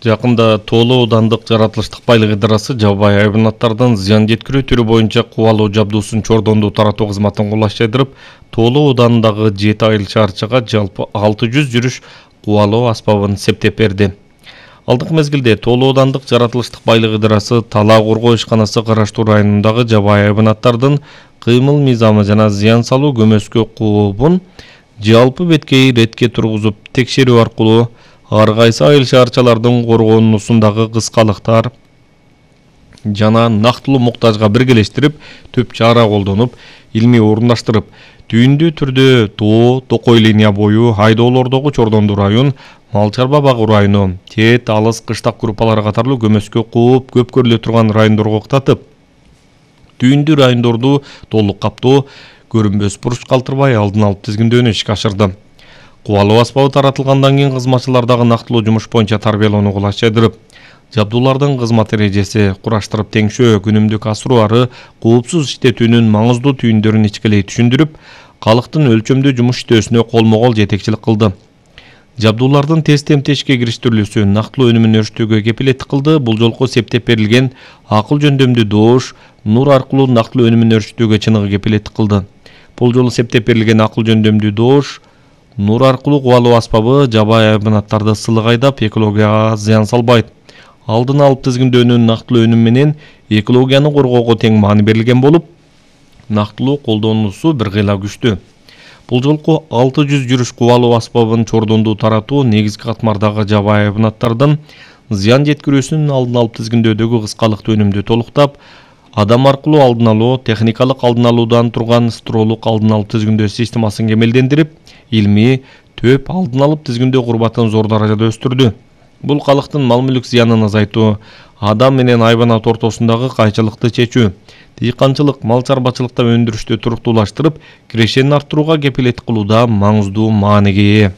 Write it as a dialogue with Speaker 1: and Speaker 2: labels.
Speaker 1: Жакында Тоолу аудандык жаратылыштык байлык идарасы жабайы хайванаттардын зыян жеткирүү түрү боюнча кубалоо жабдуусун чордондуу таратуу кызматын колдоштойдуруп, Тоолу аудандындагы 7 айыл шаарчага жалпы 600 жүрүш кубалоо аспабын септеп берди. Алдыңкы мезгилде Тоолу аудандык жаратылыштык байлык идарасы талаа коргоо ишканасы караштуу районундагы жабайы хайванаттардын кыймыл мыйзамы жана зыян салуу көмөскө куубун жалпы беткей иретке тургузуп текшерүү аркылуу ар кайсы айыл шаарчалардын коргоонуусундагы кыскалыктар жана нактылуу муктажга биргелештирип түп чара колдонуп, илмий орундаштырып, түйүндүү түрдө Тоо, Токой линия бою, айдоолордогу Чордондуу район, Мал чарба багуу району, Тет, Алыс, Кыштак группалары катарлуу көмөскө кууп, көп көрүлө турган райондорго уктатып, түйүндүү райондорду толук каптоо, көрүнбөс буруч калтырбай алдын алып тизгиндөөнү ишке ашырды. Кубалоо аспабы таратылгандан кийин кызматчылардагы нактылуу жумуш боюнча тарбиялоону колдоштойдуруп, жабдуулардын кызмат эрежеси, кураштырып теңшөө, күнүмдүк асыруу ары коопсуз иштетүүнүн маңыздуу түйүндөрүн ичкилей түшүндүрүп, калктын өлчөмдүү жумуш иштөөсүнө колмо-кол жетекчилик кылды. Жабдуулардын тез темте ишке кириштирилүүсү нактылуу өнүмүн өрүштүүгө кепилеттик кылды. Бул жолку септеп берилген акыл жөндөмдүү доош нур аркылуу нактылуу өнүмүн өрүштүүгө чыныгы кепилеттик кылды. Бул жолу септеп берилген акыл жөндөмдүү доош нур аркылуу кубалоо аспабы жабайы хайванаттарды сылык айдап, экологияга зыян салбайт. Алдын алып тизгиндөөнүн нактылуу өнүм менен экологияны коргоого тең маани берилген болуп, нактылуу колдонуусу бир кыйла күчтүү. Бул жолку 600 жүрүш кубалоо аспабын чордондуу таратуу негизги катмардагы жабайы хайванаттардын зыян жеткирүүсүнүн алдын алып тизгиндөөдөгү кыскалыкты өнүмдү толуктап, адам аркылуу алдын алуу, техникалык алдын алуудан турган строолук алдын алып тизгиндөө системасын кемелдендирип, илмий, төп алдын алып тизгиндөө курбатын зор даражада өстүрдү. Бул калктын мал-мүлк зыянын азайтуу, адам менен хайванат ортосундагы кайчылыкты чечүү, дыйканчылык, мал чарбачылыкта өндүрүштү туруктуулаштырып, кирешенин арттырууга кепилеттик кылууда маңыздуу мааниге ээ.